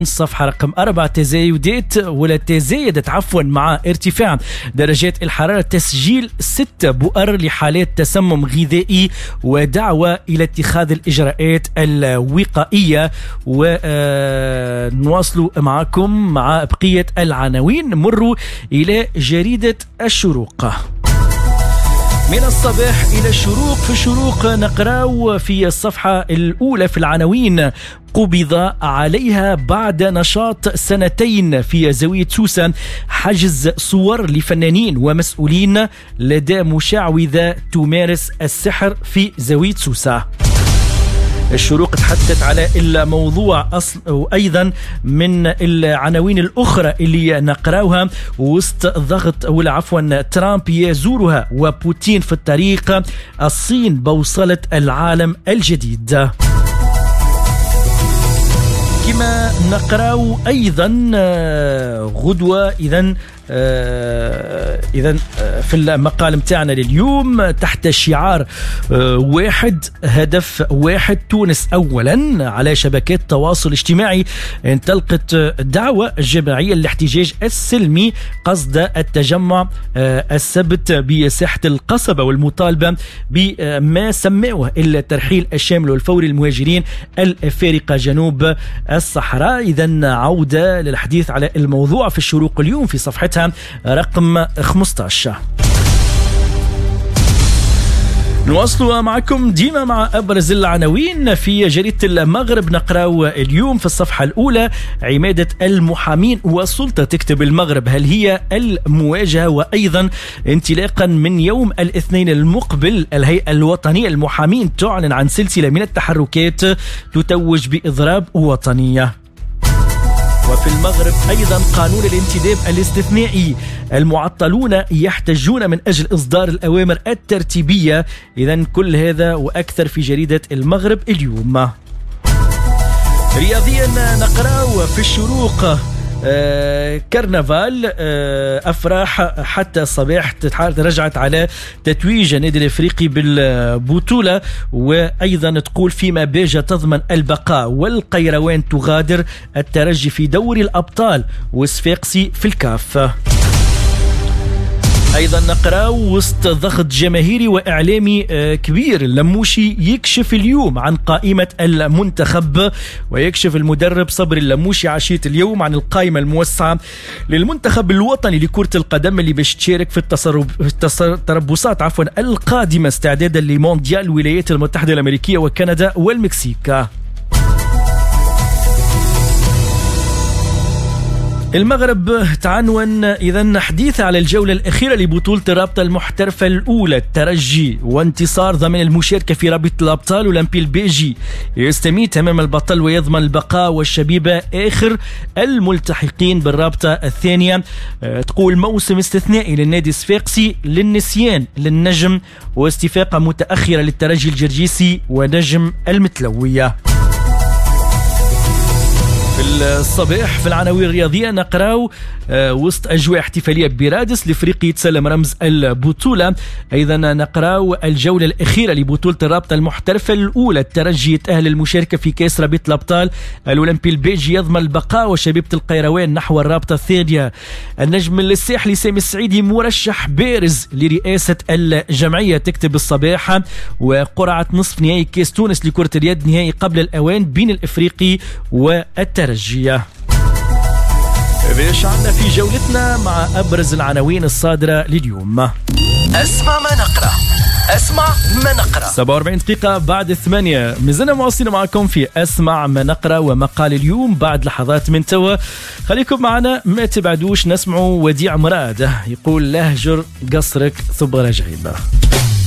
الصفحة رقم 4 تزايدات ولا تزايدت عفوا مع ارتفاع درجات الحرارة، تسجيل 6 بؤر لحالات تسمم غذائي ودعوة إلى اتخاذ الإجراءات الوقائية. ونواصل معكم مع بقية العناوين. مروا إلى جريدة الشروق. من الصباح إلى الشروق. في الشروق نقرأ في الصفحة الأولى في العناوين: قبض عليها بعد نشاط سنتين في زاوية سوسة، حجز صور لفنانين ومسؤولين لدى مشعوذة تمارس السحر في زاوية سوسة. الشروق تحدثت على الموضوع وأيضا من العناوين الأخرى اللي نقراوها: وسط ضغط ولا عفوا ترامب يزورها وبوتين في الطريق، الصين بوصلة العالم الجديد. كما نقراو أيضا غدوة إذا في المقال متاعنا لليوم تحت شعار واحد هدف واحد تونس أولا على شبكات التواصل الاجتماعي، انطلقت دعوة جماعية للاحتجاج السلمي قصد التجمع السبت بساحة القصبة والمطالبة بما سموه الترحيل الشامل والفوري للمهاجرين الأفارقة جنوب الصحراء. إذا عودة للحديث على الموضوع في الشروق اليوم في صفحتها رقم 15. نواصلوا معكم ديما مع أبرز العناوين في جريدة المغرب. نقرأ اليوم في الصفحة الأولى: عمادة المحامين والسلطة تكتب المغرب، هل هي المواجهة؟ وأيضا انطلاقا من يوم الاثنين المقبل الهيئة الوطنية للمحامين تعلن عن سلسلة من التحركات تتوج بإضراب وطنية. وفي المغرب أيضا قانون الانتداب الاستثنائي، المعطلون يحتجون من أجل إصدار الأوامر الترتيبية. إذن كل هذا وأكثر في جريدة المغرب اليوم. رياضيا نقرأ في الشروق: كرنفال أفراح حتى الصباح رجعت على تتويج النادي الإفريقي بالبطولة. وأيضا تقول فيما باجة تضمن البقاء والقيروان تغادر الترجي في دوري الأبطال والصفاقسي في الكاف. أيضا نقرأ وسط ضغط جماهيري وإعلامي كبير، اللموشي يكشف اليوم عن قائمة المنتخب. ويكشف المدرب صبري اللموشي عشية اليوم عن القائمة الموسعة للمنتخب الوطني لكرة القدم اللي باش تشارك في التربصات القادمة استعدادا لمونديال الولايات المتحدة الأمريكية وكندا والمكسيك. المغرب تعنون إذن حديث على الجولة الأخيرة لبطولة الرابطة المحترفة الأولى، الترجي وانتصار ضمن المشاركة في رابطة الأبطال. أولمبي البيجي يستميت أمام البطل ويضمن البقاء، والشبيبة آخر الملتحقين بالرابطة الثانية. تقول موسم استثنائي للنادي الصفاقسي للنسيان للنجم، واستفاقة متأخرة للترجي الجرجيسي ونجم المتلوية. في الصباح في العناوين الرياضية نقراو وسط أجواء احتفالية برادس الإفريقي يتسلم رمز البطولة. أيضا نقراو الجولة الأخيرة لبطولة الرابطة المحترفة الأولى، الترجي يتأهل المشاركة في كأس رابطة الأبطال، الأولمبي البيجي يضمن البقاء وشبيبة القيروان نحو الرابطة الثانية. النجم الساحلي سامي السعيدي مرشح بارز لرئاسة الجمعية تكتب الصباح. وقرعة نصف نهائي كأس تونس لكرة اليد نهائي قبل الأوان بين الإفريقي والترجي. باش عندنا في جولتنا مع أبرز العناوين الصادرة لليوم. أسمع ما نقرأ، أسمع ما نقرأ. 47 دقيقة بعد 8 مازلنا مواصلين معكم في أسمع ما نقرأ ومقال اليوم بعد لحظات من توا. خليكم معنا ما تبعدوش، نسمعوا وديع مراد يقول لهجر قصرك ثم رجعيبه.